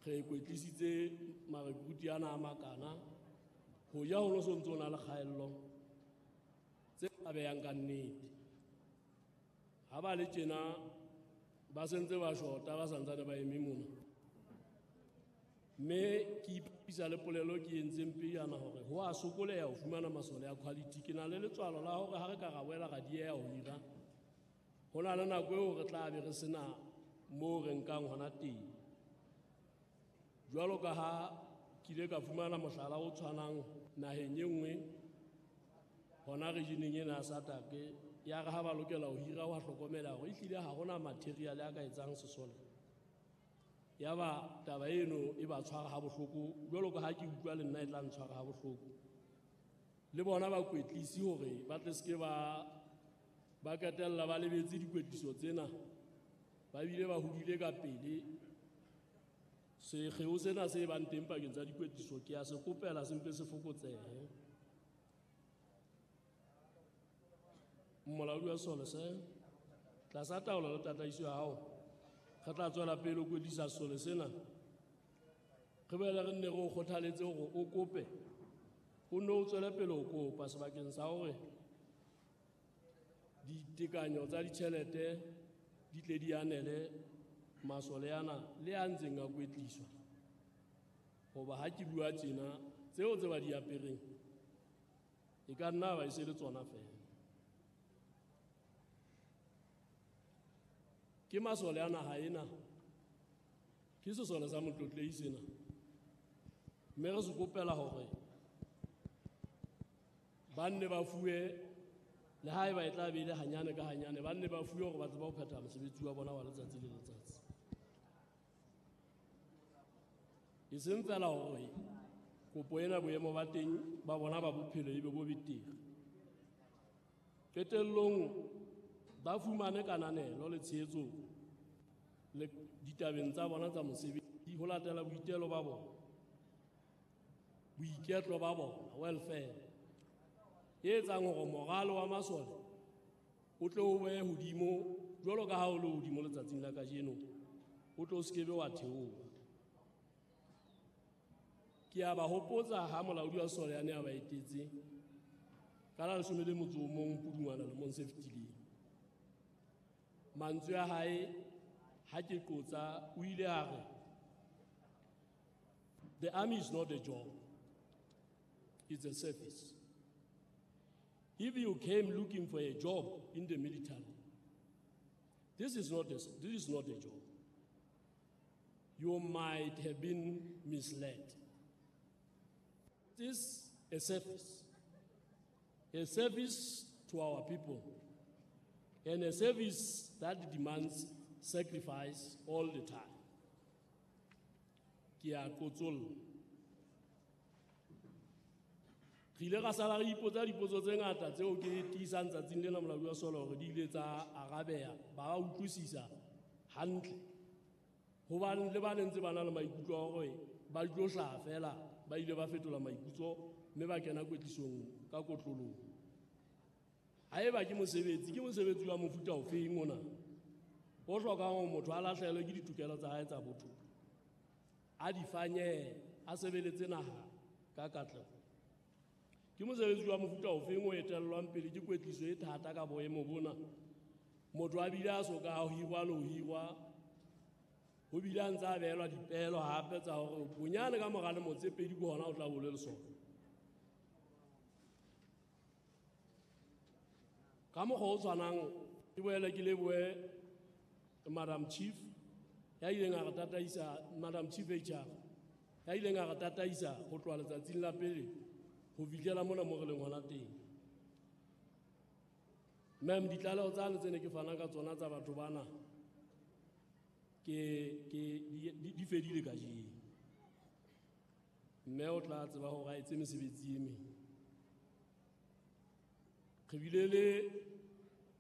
Re kwetlisitse marekruti ana a makana ho ja ho no so ntso na le kgaello tse ba behang ka nnete. Ha ba le tjena ba sentse ba shota ba santsane ba eme mona. Mme ke ipapisa le polelo ke entseng pejana hore ho a sokoleha ho fumana masole a quality. Ke na le letswalo la hore ha re ka ra boela ra dieha ho hira, ho na le nako eo re tla be re sena moo re nkang hona teng. Jwalo ka ha ke ile ka fumana mohlala o tshwanang naheng e nngwe hona regioneng ena ya SADC, ya re ha ba lokela ho hira wa hlokomela hore ehlile ha hona material a ka etsang sesole. Ya ba taba eno e ba tshwara ha bohloko, jwalo ka ha ke utlwa le nna e tla ntshwara ha bohloko. Le bona ba kwetlisi hore ba tle seke ba qetella ba lebetse dikwetliso tsena, ba bile ba hodile ka pele. Sekgeo sena se bang teng pakeng tsa dikwetliso ke a se kopela se mpe se fokotsehe. Molaodi wa sesole se tlasa taolo le tataiso ya hao, re tla tswela pele ho kwetlisa sesole sena. Re boele re nne re o kgothaletse hore o kope, o nne o tswele pele ho kopa sebakeng sa hore ditekanyo tsa ditjhelete di tle di anele masole ana le a ntseng a kwetliswa. Hoba ha ke bua tjena, tseo tse ba di apereng e ka nna ba e se le tsona feela. Ke masole a naha ena, ke sesole sa motlotlehi sena. Mme re se kopela hore ba nne ba fuwe, le haeba e tla be e le hanyane ka hanyane, ba nne ba fuwe hore ba tsebe ho phetha mosebetsi wa bona wa letsatsi le letsatsi. E seng feela hore kopo ena boemo ba teng ba bona ba bophelo ebe bo betere. Qetellong ba fumane kananelo le tshehetso le ditabeng tsa bona tsa mosebetsi ho latela boitelo ba bona, boiketlo ba bona, welfare e etsang hore moralo wa masole o tle o be hodimo jwalo ka ha o le hodimo letsatsing la kajeno, o tlo se kebe wa theoha. Ke a ba hopotsa ha molaodi wa sesole a ne a ba etetse ka la 11 Pudungwana lemong se fetileng. Mantswe a hae ha ke qotsa, o ile a re, "The army is not a job, it's a service. If you came looking for a job in the military, this is not a job. You might have been misled. This is a service to our people, and a service that demands sacrifice all the time." Ke a qotsolla. Re ile ra sala re ipotsa dipotso tse ngata tseo ke tiisang tsatsing lena molaodi wa sesole hore di ile tsa arabeha, ba utlwisisa hantle. Hobane le ba nentse ba na le maikutlo a hore ba tlo hlaha feela, ba ile ba fetola maikutlo mme ba kena kwetlisong ka kotloloho. Haeba ke mosebetsi, ke mosebetsi wa mofuta ofeng ona o hlokang hore motho a lahlehelwe ke ditokelo tsa hae tsa botho, a di fanyehe, a sebeletse naha ka katleho. Ke mosebetsi wa mofuta ofeng o etellwang pele ke kwetliso e thata ka boemo bona, motho a bile a soka a hirwa le ho hirwa, ho bile a ntse a behelwa dipehelo hape tsa hore bonyane ka mora lemo tse pedi ke hona o tla bo le lesole. Ka mokgwa o tshwanang, ke boele ke lebohe Madam Chief ya ileng a re tataisa, Madam Chief HR ya ileng a re tataisa ho tloha letsatsing la pele ho fihlela mona mo re leng hona teng. Ma'am, ditlaleho tsane tse ne ke fana ka tsona tsa batho bana ke di fedile kajeno. Mme o tla tseba hore a etse mesebetsi e meng. Re bile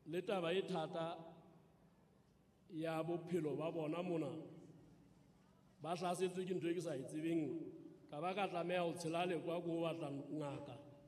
le taba e thata ya bophelo ba bona mona, ba hlasetswe ke ntho e ke sa e tsebeng, ka ba ka tlameha ho tshela lekwa ko ho batla ngaka.